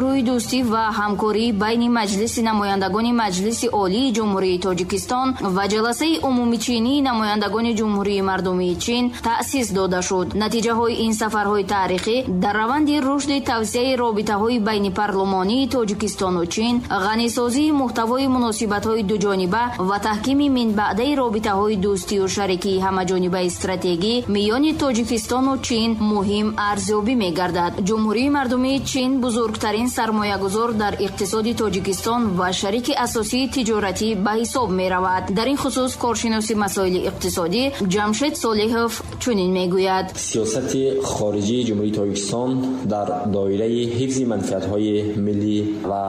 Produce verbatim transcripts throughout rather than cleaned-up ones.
Рӯи дӯстӣ ва ҳамкорӣ байни Маҷлиси намояндагони Маҷлиси Олии Ҷумҳурии Тоҷикистон ва ҷаласаи умумичинии намояндагони Ҷумҳурии Мардумии Чин таъсис дода шуд. Натиҷаҳои ин сафарҳои таърихӣ дар раванди рушди тавсияи робитаҳои байнипарлумонии Тоҷикистону Чин, ғанисозии муҳтавои муносибатҳои дуҷониба ва таҳкими минбаъдаи робитаҳои дӯстию шарикии ҳамаҷонибаи стратегӣ миёни Тоҷикистону Чин муҳим арзёбӣ мегардад. Ҷумҳурии Мардумии Чин бузургтарин сармоягузор дар иқтисоди Тоҷикистон ва шарики асосии тиҷоратӣ ба ҳисоб меравад. Дар ин хусус коршиноси масоили иқтисодӣ Ҷамшед Солиҳов чунин мегӯяд: Сиёсати хориҷии Ҷумҳурии Тоҷикистон дар доираи ҳифзи манфиатҳои миллӣ ва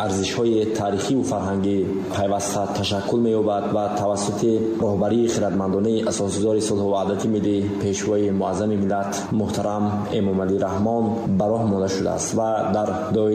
арзишҳои таърихиву фарҳангӣ пайваста ташаккул меёбад ва тавассути роҳбарии хирадмандонаи асосгузори сулҳу ваҳдати миллӣ, Пешвои муаззами миллат муҳтарам Эмомалӣ Раҳмон ба роҳ монда шудааст ва дар доираи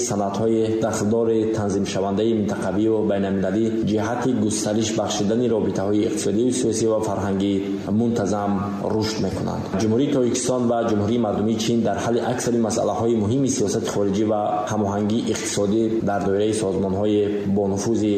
санадҳои дахлдори танзимшавандаи минтақавию байналмилалӣ ҷиҳати густариш бахшидани робитаҳои иқтисодию сиёсӣ ва фарҳангӣ мунтазам рушд мекунанд. Ҷумҳурии Тоҷикистон ва Ҷумҳурии Мардумии Чин дар ҳалли аксари масъалаҳои муҳими сиёсати хориҷӣ ва ҳамоҳангии иқтисодӣ дар доираи созмонҳои бонуфузи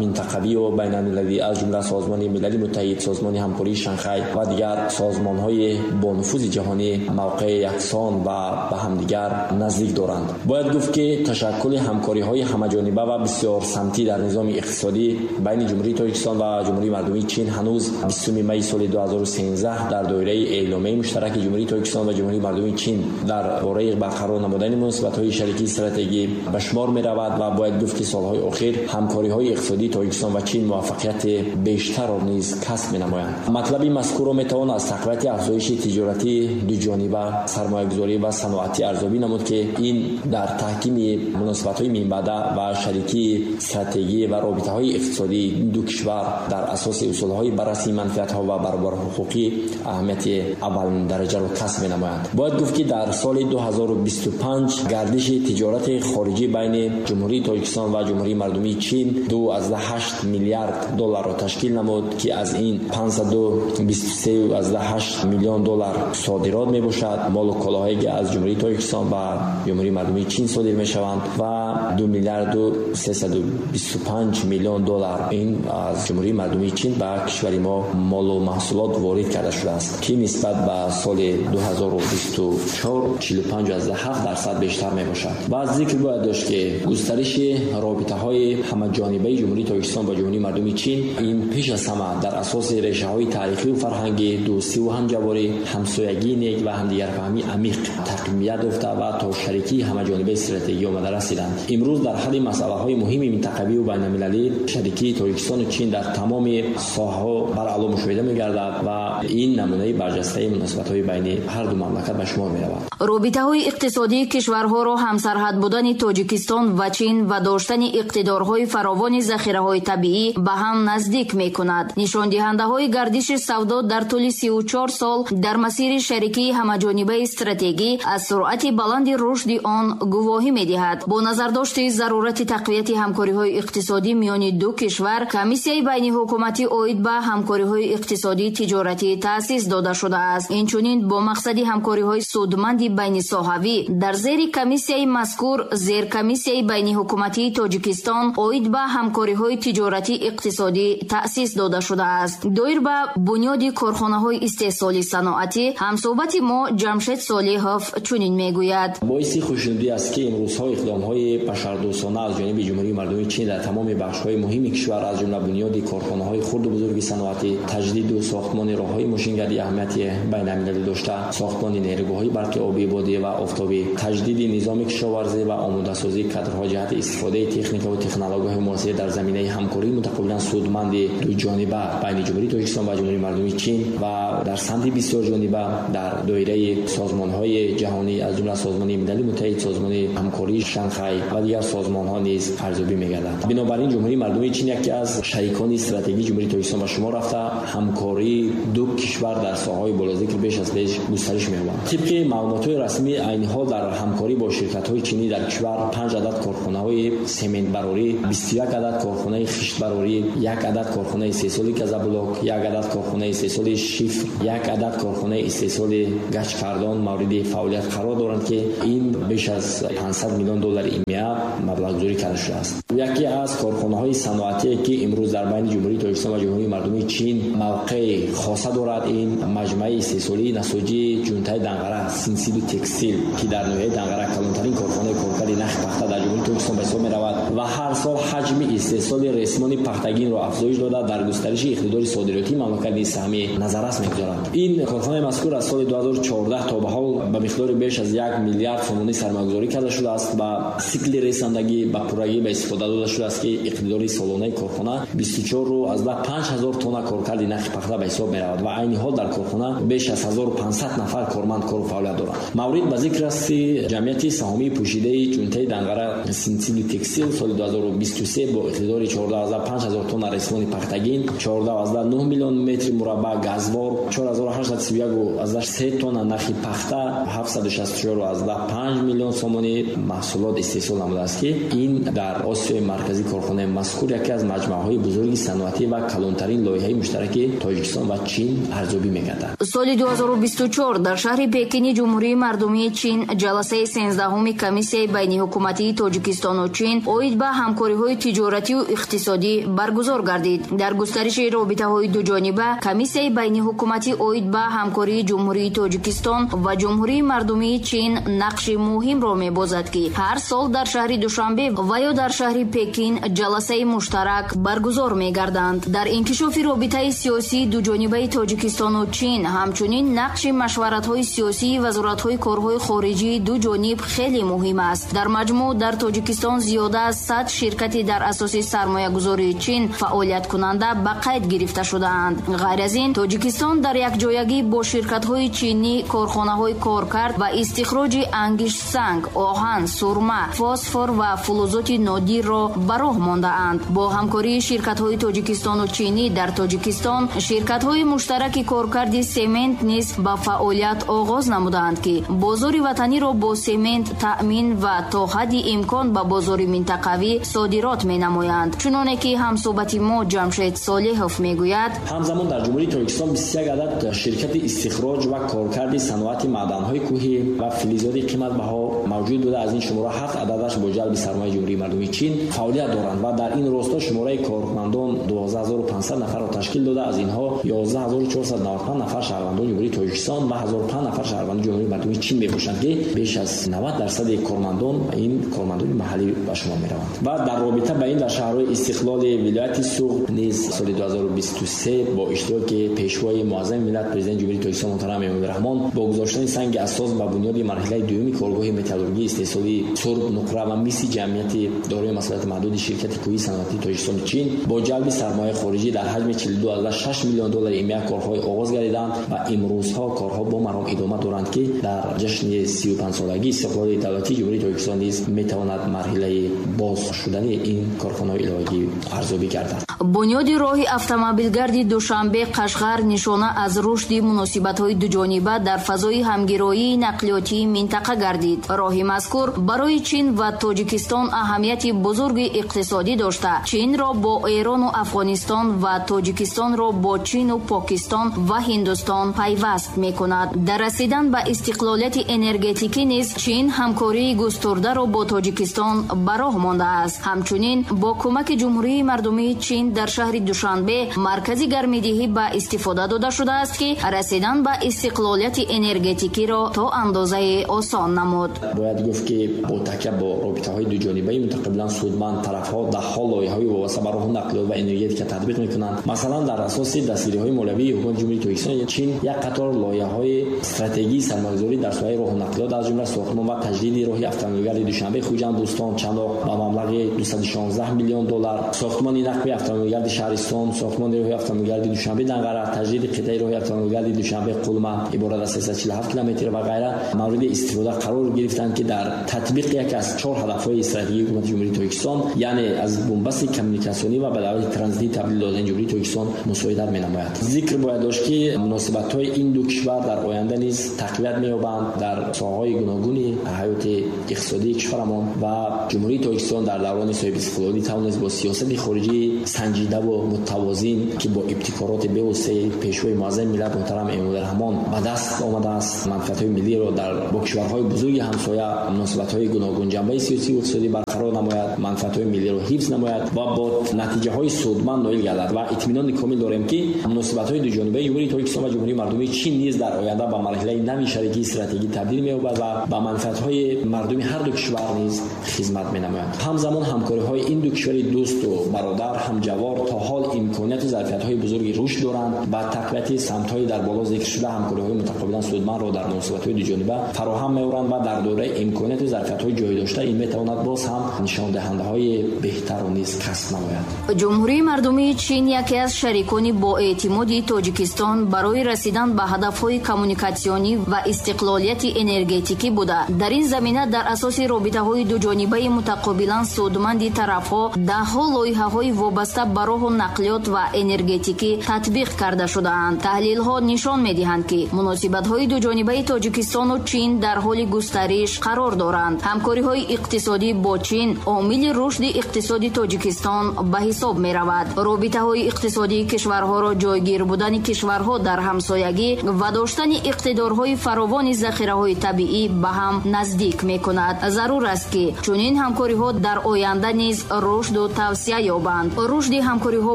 минтақавию байналмилалӣ, аз ҷумла Созмони Милали Муттаҳид, Созмони Ҳамкории Шанхай ва дигар созмонҳои бонуфузи ҷаҳонӣ мавқеи яксон ва ба ҳамдигар наздик доранд. Бояд гуфт, ки ташаккули ҳамкориҳои ҳамаҷониба ва бисёрсамтӣ дар низоми иқтисодӣ байни Ҷумҳурии Тоҷикистон ва Ҷумҳурии Мардумии Чин ҳанӯз бистуми майи соли ду ҳазору сенздаҳ дар доираи эъломияи муштараки Ҷумҳурии Тоҷикистон ва Ҷумҳурии Мардумии Чин дар бораи барқарор намудани муносибатҳои шарикии стратегӣ ба шумор меравад ва бояд гуфт, ки солҳои охир ҳамкориҳои иқтисодии Тоҷикистон ва Чин муваффақияти бештарро низ касб менамоянд. Матлаби мазкурро метавон аз тақвияти афзоиши тиҷоратии дуҷониба, сармоягузорӣ ва саноатӣ арзёбӣ намуд, ки ин дар таҳкими муносибатҳои минбаъда ва шарикии стратегӣ ва робитаҳои иқтисодии ду кишвар дар асоси усулҳои баррасии манфиатҳо ва баробарҳуқуқӣ аҳамияти аввалиндараҷаро касб менамоянд. Бояд гуфт, ки дар соли ду ҳазору бисту панҷ гардиши тиҷорати хориҷӣ байни Ҷумҳурии Тоҷикистон ва Ҷумҳурии Мардумии Чин ду аз ҳашт миллиард долларро ташкил намуд, ки аз ин панҷсаду бисту се аз ҳашт миллион доллар содирот мебошад. Молу колоҳое ки аз Ҷумҳурии Тоҷикистон ба Ҷумҳурии Мардумии Чин содир мешаванд ва ду миллиарду сесаду бисту панҷ миллион доллар ин аз Ҷумҳурии Мардумии Чин ба кишвари мо молу маҳсулот ворид карда шудааст, ки нисбат ба соли ду ҳазору бисту чор чилу панҷ аз ҳафт дарсад бештар мебошад. Ва зикр бояд дошт, ки густариши робитаҳои ҳамаҷонибаи Ҷумҳурии Тоҷикистон ба Ҷумҳурии Мардумии Чин ин пеш аз ҳама дар асоси решаҳои таърихию фарҳангӣ, дӯстиву ҳамҷаворӣ, ҳамсоягии нек ва ҳамдигарфаҳмии амиқ тақвият ёфта ва то шарикии ҳамаҷонибаи стратегӣ омада расиданд. Имрӯз дар ҳалли масъалаҳои муҳими минтақавию байналмилалӣ шарикии Тоҷикистону Чин дар тамоми соҳаҳо баръало мушоҳида мегардад ва ин намунаи барҷастаи муносибатҳои байни ҳар ду мамлакат ба шумор меравад. Робитаҳои иқтисодии кишварҳоро ҳамсарҳад будани Тоҷикистон ва Чин ва доштани иқтидорҳои фаровони захираҳои табиӣ ба ҳам наздик мекунад. Нишондиҳандаҳои гардиши савдо дар тӯли сию чор сол дар масири шарикии ҳамаҷонибаи стратегӣ аз суръати баланди рушди он гувоҳӣ медиҳад. Бо назардошти зарурати тақвияти ҳамкориҳои иқтисодӣ миёни ду кишвар, комиссияи байниҳукуматӣ оид ба ҳамкориҳои иқтисодии тиҷоратӣ таъсис дода шудааст. Инчунин бо мақсади ҳамкориҳои судманди байнисоҳавӣ дар зери комиссияи мазкур зеркомиссияи байниҳукуматии Тоҷикистон оид ба ҳамкориҳои тиҷоратӣ иқтисодӣ таъсис дода шудааст. Доир ба бунёди корхонаҳои истеҳсоли саноатӣ ҳамсӯҳбати мо Ҷамшед Солиҳов чунин мегӯяд: Боиси хушнудӣ аст, ки имрӯзҳо иқдомҳои башардӯстона аз ҷониби Ҷумҳурии Мардумии Чин дар тамоми бахшҳои муҳими кишвар, аз ҷумла бунёди корхонаҳои хурду бузурги саноатӣ, таҷдиду сохтмони роҳҳои мошингарди аҳамияти байналмилалӣ дошта, сохтмони нерӯгоҳҳои барқи обӣ, бодӣ ва офтобӣ, таҷдиди низоми кишоварзӣ ва омодасозии кадрҳо ҷиҳати истифодаи техника ва технологияҳои муосир дар заминаи ҳамкории мутақобилан судманди дуҷониба байни Ҷумҳурии Тоҷикистон ва Ҷумҳурии Мардумии Чин ва дар самти бисёрҷониба дар доираи созмонҳои ҷаҳонӣ, аз ҷумла Созмони Милали Муттаҳид, Созмони Ҳамкории Шанхай ва дигар созмонҳо низ арзёбӣ мегардад. Бинобар ин Ҷумҳурии Мардумии Чин яке аз шарикони стратегии Ҷумҳурии Тоҷикистон ба шумор рафта, ҳамкории ду кишвар дар соҳаҳои болозикр беш аз пеш густариш меёбад. Тибқи маълумотҳои расмӣ, айни ҳол дар ҳамкорӣ бо ширкатҳои чинӣ дар кишвар панҷ адад корхонаҳои сементбарорӣ, бисту як адад корхонаи хиштбарорӣ, як адад корхонаи истеҳсоли газоблок, як адад корхонаи истеҳсоли шифр, як адад корхонаи истеҳсоли гачкардон мавриди фаъолият қарор доранд, ки ин беш аз панҷсад миллион доллари ИМЕА маблағгузорӣ карда шудааст. Яке аз корхонаҳои саноатие ки имрӯз дар байни Ҷумҳурии Тоҷикистон ва Ҷумҳурии Мардумии Чин мавқеи хоса дорад, ин маҷмӯаи истеҳсолии насоҷии ҷунтаи Данғара Синсиду Текстил, ки дар ноҳияи Данғара калонтарин корхонаи коркарди нахи пахта дар Ҷумҳурии Тоҷикистон ба ҳисоб меравад ва ҳар сол ҳаҷми истеҳсоли ресмони пахтагинро афзоиш дода, дар густариши иқтидори содиротии мамлакат низ саҳми назаррас мегузорад. Ин корхонаи мазкур аз соли ду ҳазору чордаҳ то ба ҳол ба миқдори беш аз як миллиард сомонӣ сармоягузорӣ карда шудааст ва сикли ресандагӣ ба пуррагӣ ба истифода дода шудааст, ки иқтидори солонаи корхона бисту чор аз даҳ панҷ ҳазор тонна коркарди нахи пахта ба ҳисоб меравад ва айни ҳол дар корхона беш аз ҳазору панҷсад нафар корманд кору фаъолият доранд. Маврид ба зикр аст, ки ҷамъияти саҳомии пӯшидаи ҷунтаи Данғара Синсиду Текстил соли ду ҳазору бисту се бо иқтидори чордаҳ аз даҳ панҷ ҳазор тонна ресмони пахтагин, чордаҳ аз даҳ нӯҳ миллион метри мураббаъ газвор, чор ҳазору ҳаштсаду сию як аз даҳ се тонна нахи пахта, ҳафтсаду шасту чор аз даҳ панҷ миллион сомонӣ маҳсулот истеҳсол намудааст, ки ин дар Осиёи Марказӣ корхонаи мазкур яке аз маҷмӯаҳои бузурги саноатӣ ва калонтарин лоиҳаи муштараки Тоҷикистон ва Чин арзёбӣ мегардад. Соли ду ҳазору бисту чор дар шаҳри Пекини Ҷумҳурии Мардумии Чин ҷаласаи сенздаҳуми комиссияи байниҳукуматии Тоҷикистону Чин оид ба ҳамкориҳои тиҷоратию иқтисодӣ баргузор гардид. Дар густариши робитаҳои дуҷониба комиссияи байниҳукуматӣ оид ба ҳамкории Ҷумҳурии Тоҷикистон ва Ҷумҳурии Мардумии Чин нақши муҳимро мебозад, ки ҳар сол дар шаҳри Душанбе ва ё дар шаҳри Пекин ҷаласаи муштарак баргузор мегарданд. Дар инкишофи робитаи сиёсии дуҷонибаи Тоҷикистону Чин ҳамчунин нақши машваратҳои сиёсии вазоратҳои корҳои хориҷии ду ҷониб хеле муҳим аст. Дар маҷмӯъ дар Тоҷикистон зиёда аз сад ширкати дар асоси сармоягузории Чин фаъолияткунанда ба қайд гирифта шудаанд. Ғайр аз ин, Тоҷикистон дар якҷоягӣ бо ширкатҳои чинӣ корхонаҳои коркард ва истихроҷи ангиштсанг, оҳан, сурма, фосфор ва фулузоти нодирро ба роҳ мондаанд. Бо ҳамкории ширкатҳои Тоҷикистону чинӣ дар Тоҷикистон ширкатҳои муштараки коркарди семент низ ба фаъолият оғоз намудаанд, ки бозори ватаниро бо семент таъмин ва то ҳадди имкон ба бозори минтақавӣ содирот менамоянд. Чуноне ки ҳамсӯҳбати мо Ҷамшед Солеҳов мегӯяд, ҳамзамон дар Ҷумҳурии Тоҷикистон бисту як адад ширкати истихроҷ ва коркарди саноати маъданҳои кӯҳӣ ва филизоти қиматбаҳо мавҷуд буда, аз ин шумора ҳафт ададаш бо ҷалби сармояи Ҷумҳурии Мардумии Чин фаъолият доранд ва дар ин росто шумораи кормандон дувоздаҳ ҳазору панҷсад нафарро ташкил дода, аз инҳо ёздаҳ ҳазору чорсаду наваду панҷ нафар шаҳрвандони Ҷумҳурии Тоҷикистон ва ҳазору панҷ нафар шаҳрвандони Ҷумҳурии Мардумии Чин мебошанд, ки беш аз навад дарсади кормандон ин кормандони маҳаллӣ ба шумор мераванд. Ва дар робита ба ин дар шаҳрҳои Истиқлоли вилояти Суғд низ соли ду ҳазору бисту се бо иштироки пешвои муаззами миллат, президенти Ҷумҳурии Тоҷикистон муҳтарам Эмомалӣ Раҳмон, бо гузоштани санги асос ба бунёди марҳилаи дуюми коргоҳи металлургии истеҳсолии сурб, нуқра ва миси ҷамъияти дорои масъулияти маҳдуди ширкати кӯҳии саноатии Тоҷикистону Чин бо ҷалби сармояи хориҷӣ дар ҳаҷми чилу ду аз даҳ шаш миллион доллари ИМЕА корҳои оғоз гардиданд ва имрӯзҳо корҳо бо маром идома доранд, ки дар ҷашни сию панҷсолагии истиқлоли давлатии Ҷумҳурии Тоҷикистон низ метавонад марҳилаи боз шудани ин корхонаҳои иловагӣ арзёбӣ гардад. Бунёди роҳи автомобилгарди Душанбе Қашғар нишона аз рушди муносибатҳои дуҷониба дар фазои ҳамгироии нақлиётии минтақа гардид. Роҳи мазкур барои Чин ва Тоҷикистон аҳамияти бузурги иқтисодӣ дошта, Чинро бо Эрону Афғонистон ва Тоҷикистонро бо Чину Покистон ва Ҳиндустон пайваст мекунад. Дар расидан ба истиқлолияти энергетикӣ низ Чин ҳамкории густурдаро бо Тоҷикистон ба роҳ мондааст. Ҳамчунин бо кӯмаки Ҷумҳурии Мардумии Чин дар шаҳри Душанбе маркази гармидиҳӣ ба истифода дода шудааст, ки расидан ба истиқлолияти энергетикиро то андозаи осон намуд. Бояд гуфт, ки бо такя бо робитаҳои дуҷонибаи мутақобилан судманд тарафҳо даҳҳо лоиҳаҳои вобаста ба роҳу нақлиёт ва энергетика татбиқ мекунанд. Масалан, дар асоси дастгириҳои молиявии ҳукумати Ҷумҳурии Тоҷикистон Чин як қатор лоиҳаҳои стратегии сармоягузорӣ дар соҳаи роҳу нақлиёт, аз ҷумла сохтмон ва таҷдиди роҳи автомобилгарди Душанбе Хуҷанд Бӯстон Чаноқ ба маблағи дусаду шонздаҳ миллион доллар, сохтмони нақби автомобилгарди шаҳристон, сохтмони роҳи автомобилгарди Душанбе Данғара, таҷдиди қитъаи роҳи автомобилгарди Душанбе Қулма иборат аз сесаду чилу ҳафт километр ва ғайра мавриди истифода қарор гирифтанд, ки дар татбиқи яке аз чор ҳадафҳои стратегии ҳукумати Ҷумҳурии Тоҷикистон, яъне аз бунбасти коммуникатсионӣ ва ба давлати транзитӣ табдил додани Ҷумҳурии Тоҷикистон мусоидат менамояд. Зикр бояд дошт, ки муносибатҳои ин ду кишвар дар оянда низ тақвият меёбанд дар соҳаҳои гуногуни ҳаёти иқтисодии кишварамон ва Ҷумҳурии Тоҷикистон дар даврони соҳибистиқлолӣ тавонист бо сиёсати хориҷии санҷидаву муттавозин, ки бо ибтикороти бевоситаи пешвои муаззами миллат муҳтарам Эмомалӣ Раҳмон ба даст омадааст, манфиатҳои миллиро дар бо кишварҳои бузурги ҳамсоя ҳамсоя муносибатҳои гуногунҷанбаи сиёсӣ ва иқтисодӣ барқарор намояд, манфиатҳои миллиро ҳифз намояд ва бо натиҷаҳои судманд ноил гардад. Ва итминони комил дорем, ки муносибатҳои дуҷонибаи Ҷумҳурии Тоҷикистон ва Ҷумҳурии Мардумии Чин низ дар оянда ба марҳилаи нави шарикии стратегӣ табдил меёбад ва ба манфиатҳои мардуми ҳар ду кишвар низ хизмат менамояд. Ҳамзамон ҳамкориҳои ин ду кишвари дӯсту бародар, ҳамҷавор то ҳол имконияту зарфиятҳои бузурги рушд доранд ба тақвияти самтҳои дар боло зикршуда ҳамкориҳои мутақобилан судмандро дар муносибатҳои дуҷониба фароҳам меоранд ва дар доираи имконияту зарфиятҳои ҷой дошта ин метавонад боз ҳам нишондиҳандаҳои беҳтарро низ касб намояд. Ҷумҳурии Мардумии Чин яке аз шарикони боэътимоди Тоҷикистон барои расидан ба ҳадафҳои коммуникатсионӣ ва истиқлолияти энергетикӣ буда, дар ин замина дар асоси робитаҳои дуҷонибаи мутақобилан судманди тарафҳо даҳҳо лоиҳаҳои вобаста ба роҳу нақлиёт ва энергетикӣ татбиқ карда шудаанд. Таҳлилҳо нишон медиҳанд, ки муносибатҳои дуҷонибаи Тоҷикистону Чин дар ҳоли густариш қарор доранд. Ҳамкориҳои иқтисодӣ бо Чин омили рушди иқтисоди Тоҷикистон ба ҳисоб меравад. Робитаҳои иқтисодии кишварҳоро ҷойгир будани кишварҳо дар ҳамсоягӣ ва доштани иқтидорҳои фаровони захираҳои табиӣ ба ҳам наздик мекунад. Зарур аст, ки чунин ҳамкориҳо дар оянда низ рушду тавсия ёбанд. Рушди ҳамкориҳо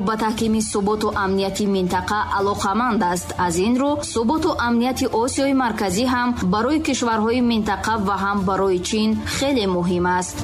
ба таҳкими суботу амнияти минтақа алоқаманд аст. Аз ин рӯ суботу амнияти Осиёи Марказӣ ҳам барои кишварҳои минтақа ва ҳам барои Чин хеле муҳим аст.